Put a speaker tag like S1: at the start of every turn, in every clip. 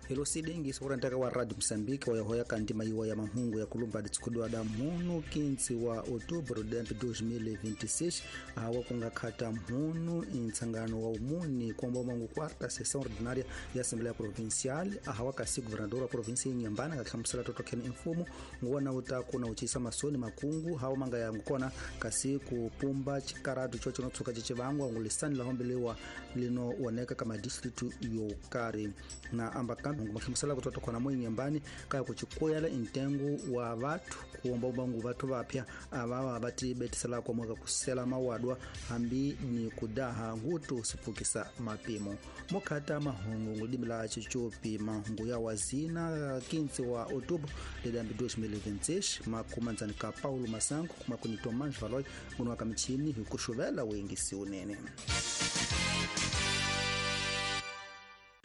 S1: Hilo sidingi sokurantaka wa Radio Msambiki wa yahoya kandi maiwa ya mahungu ya kulumba ditsikudwa da mhunu 15 wa outubro de 2026 awa kungakhata mhunu intsangano wa umuni komba mangu quarta sessão ordinária ya Assembleia Provincial ahawa kasi governador wa província Inhambane akahlamusela totokheni imfumo nguwona uta kuna uchisa masoni makungu hawa manga yangu kona kasi kupumba chikaratu chocho notsuka chichivangwa ngulisani lahombelewa lino woneka kama district yokari na amba kambi mahlamusela kutoto khona mo Inhambane kaya kuchikuyela intengo wa vathu kuomba ubangu vathu vapya avawa vati betisela kwamoka kusela mawadwa hambi ni kudaha ngutu sipfukisa mapimo mokhata mahungu ngulimi la chichupi mahungu ya wazina 15 wa outubro de 2026 makumanzani ka Paulo Masango kumakuni Tomás Valoy nguno wa michini hikuxuvela wengisi unene.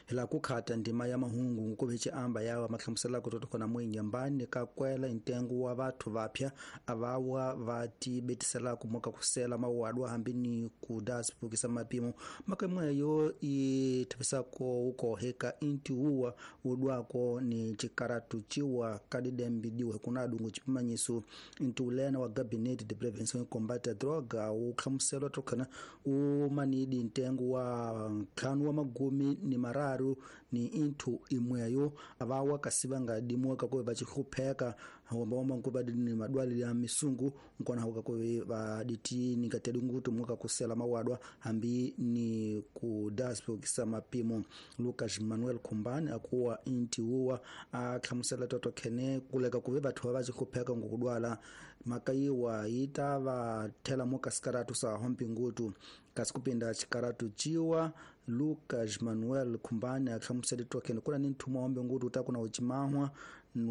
S1: La kukhata ndima ya mahungu ngukuve amba yawa mahlamusela ku khona mo Inhambane ka kwela intengo wa vathu vapya avawa va tibetiselaka moka kusela mawadwa hambi ni kuda sipfukisa mapimo makamweyo i thapisako ukoheka intiuwa udwako ni chikaratu chiwa kadidembi diwe kunadungu chipimanyiso intiulena wa gabinete de prevenção e combate à droga uhlamuselwa tokhana umanidi ntengo wa ntlhanu wa magumi ni mararu ni inthu imweyo avawa kasi va nga dimuka kuve va chihlupheka wamba nkuva ni madwali ya misungu nkona huka kuve va diti ni katedi ngutu muka kusela mawadwa hambi ni kudaspokisa mapimo. Lucas Manuel Kumbani akuwa inti uwa ahlamusela toto khene kuleka kuve vathu va chihlupheka ngokudwala makayiwa yita va thela muka sikaratu sa hompi ngutu kasi kupinda chikaratu chiwa. Lucas Manuel Kumbani ahlamusela tokhene kuna ni nthumo hombe ngutu uta kuna uchimahwa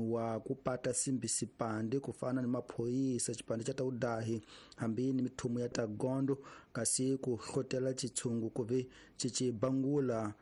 S1: wa kupata simbi sipande kufana ni maphoyisa chipande cha taudahi hambi ni mithumu ya tagondo kasi ku hlotela chitshungu kuve chichibangula.